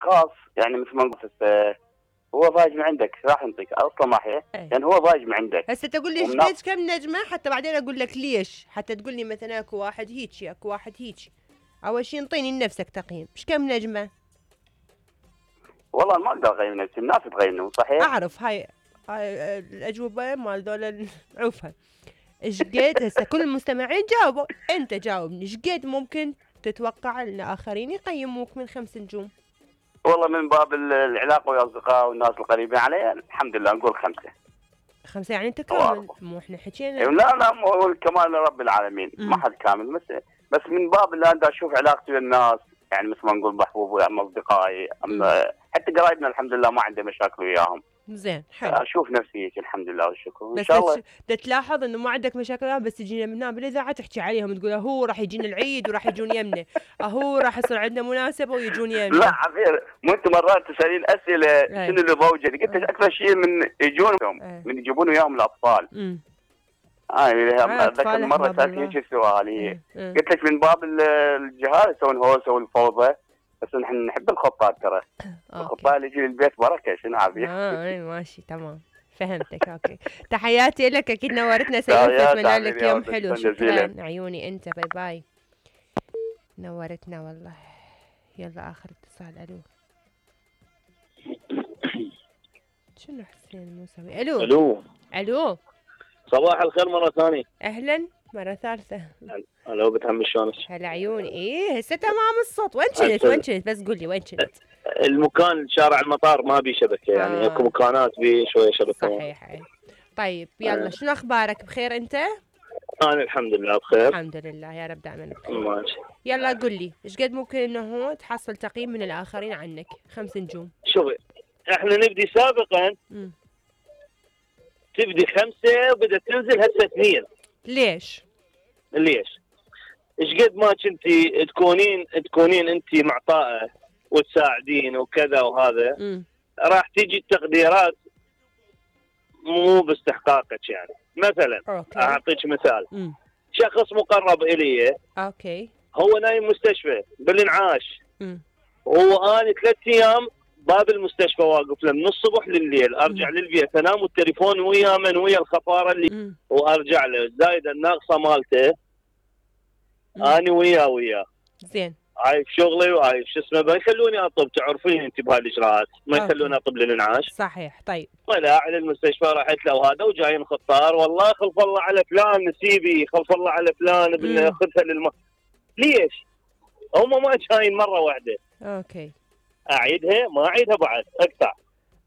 خاص يعني مثل ما قلت هو ضايج من عندك راح ينطيك اصلا ما هي يعني هو ضايج من عندك. هسه تقول لي ايش كم نجمه حتى بعدين اقول لك ليش، حتى تقول لي مثلا اكو واحد هيك اكو واحد هيك. اول شيء انطيني لنفسك تقييم، ايش كم نجمه؟ والله ما اقدر اقيم نفسي، الناس تقيمني صحيح. اعرف هاي الاجوبه مال دول عوفها. ايش قد هسه كل المستمعين جاوبوا، انت جاوبني ايش قد ممكن تتوقع ان اخرين يقيموك من 5 نجوم؟ والله من باب العلاقه ويا الاصدقاء والناس القريبين علي الحمد لله نقول 5. 5 يعني انت كامل، مو احنا حكينا. لا مو الكمال لرب العالمين، ما حد كامل، بس من باب اللي انا اشوف علاقتي بالناس يعني مثل ما نقول محبوب ويا اصدقائي، حتى قرايبنا الحمد لله ما عندي مشاكل وياهم. زين حلو. اشوف نفسي هيك الحمد لله والشكر ان شاء الله. بس تلاحظ انه ما عندك مشاكل، بس تجينا من هنا بالاذاعه تحكي عليهم تقول هو راح يجينا العيد وراح يجون يمنا، هو راح يصير عندنا مناسبه ويجون يمنا. لا عفير، مو انت مرات تسالين اسئله شنو اللي موجود، قلت لك اكثر شيء من يجون من يجيبون وياهم الاطفال. اتذكر مره سالتني هيك سؤال، قلت لك من باب الجهال يسوون هوسه والفوضى، بس نحن نحب الخطاب ترى. الخطاب اللي يجي للبيت بركه شنو عافيه. ماشي تمام فهمتك. اوكي تحياتي لك، اكيد نورتنا سيدي، اتمنى لك يوم حلو. شكرا عيوني انت، باي باي. نورتنا والله. يلا اخر اتصال. الو شنو حسين موسوي؟ الو صباح الخير مرة ثانية. اهلا مرة ثالثة. الو بتهم شلونك؟ هلا عيوني. هسه تمام الصوت. وين كنت بس قول لي وين كنت؟ المكان شارع المطار ما بي شبكة يعني اكو مكانات بي شوية شبكة. صحيح. طيب يلا شنو اخبارك؟ بخير انت؟ انا الحمد لله بخير. الحمد لله يا رب دائما بخير. ماشي. يلا قل لي ايش قد ممكن انه تحصل تقييم من الاخرين عنك؟ 5 نجوم. شوفي احنا نبدي سابقا تبدي 5 وبدأت تنزل هسه 2. ليش؟ ايش قد ما كنتي تكونين انت معطاءه وتساعدين وكذا وهذا راح تيجي التقديرات مو باستحقاقك. يعني مثلا اعطيك مثال. شخص مقرب الي هو نايم مستشفى بالانعاش، واني 3 ايام باب المستشفى واقف له من الصبح لليل، ارجع للبيت انام والتليفون ويا من ويا الخفاره اللي وارجع له زايد الناقصه مالته. اني وياه زين عايف شغلي وعايف شو اسمه، ما يخلوني اطب، تعرفين انت بهالاجراءات ما يخلوني اطب للانعاش. صحيح. طيب طلع للمستشفى رحت له وهذا وجايين خطار، والله خلف الله على فلان نسيبي، خلف الله على فلان بناخذها ليش؟ هم ما جايين مره واحده. اعيدها ما اعيدها بعد اقطع.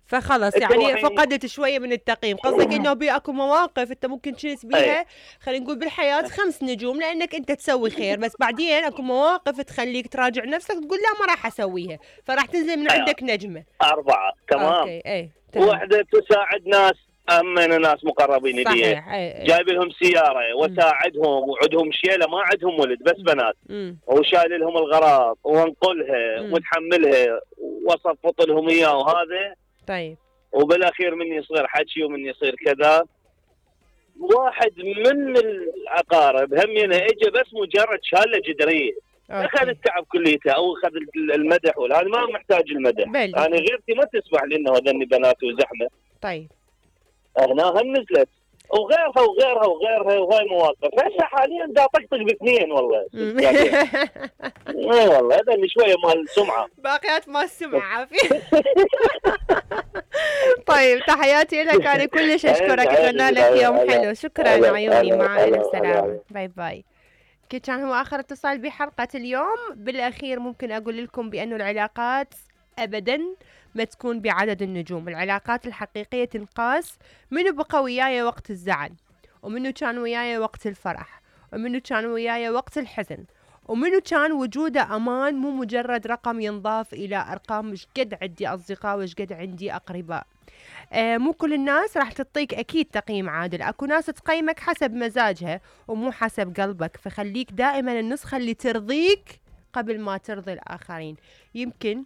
فخلص يعني فقدت شويه من التقييم. قصدك انه اكو مواقف انت ممكن تشيس بيها خلينا نقول بالحياه 5 نجوم لانك انت تسوي خير، بس بعدين اكو مواقف تخليك تراجع نفسك تقول لا ما راح اسويها، فراح تنزل من عندك نجمه 4. تمام. وحده تساعد ناس، امن ناس مقربين لي جايب لهم سياره وساعدهم وعندهم شيله ما عندهم ولد بس بنات، وشايل لهم الغراض وانقلها وتحملها وصفط لهم اياه وهذا. طيب وبالاخير من يصير حكي ومن يصير كذا. واحد من العقارب همينه اجى بس مجرد شاله جدريه، اخذ التعب كليته او اخذ المدح، وهذا ما محتاج المدح. انا غيرتي ما تسمح لي انه هذني بنات وزحمه. طيب هنا هم نزلت وغيرها وهاي مواقف. هسه حاليا دا طقطق ب2 والله. والله هذا اللي شويه مال السمعه، باقيات مال السمعه عافيه. طيب تحياتي لك، انا كلش اشكرك، اتمنى لك يوم حلو. شكرا عيوني، مع الف سلامه، باي باي. كان هو اخر اتصال بحلقه اليوم. بالاخير ممكن اقول لكم بانه العلاقات ابدا ما تكون بعدد النجوم. العلاقات الحقيقية تنقاس منو بقى وياي وقت الزعل، ومنو كان وياي وقت الفرح، ومنو كان وياي وقت الحزن، ومنو كان وجوده أمان مو مجرد رقم ينضاف إلى أرقام. مش قد عندي أصدقاء وش قد عندي أقرباء. مو كل الناس راح تعطيك أكيد تقييم عادل، أكو ناس تقيمك حسب مزاجها ومو حسب قلبك، فخليك دائما النسخة اللي ترضيك قبل ما ترضي الآخرين. يمكن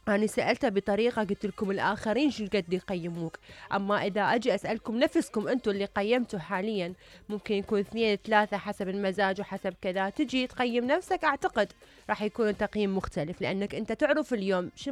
أنا سألته بطريقة قلت لكم الآخرين شو قد يقيموك، أما إذا أجي أسألكم نفسكم أنتم اللي قيمتوا حاليا، ممكن يكون 2 3 حسب المزاج وحسب كذا، تجي تقيم نفسك أعتقد راح يكون التقييم مختلف، لأنك أنت تعرف اليوم شو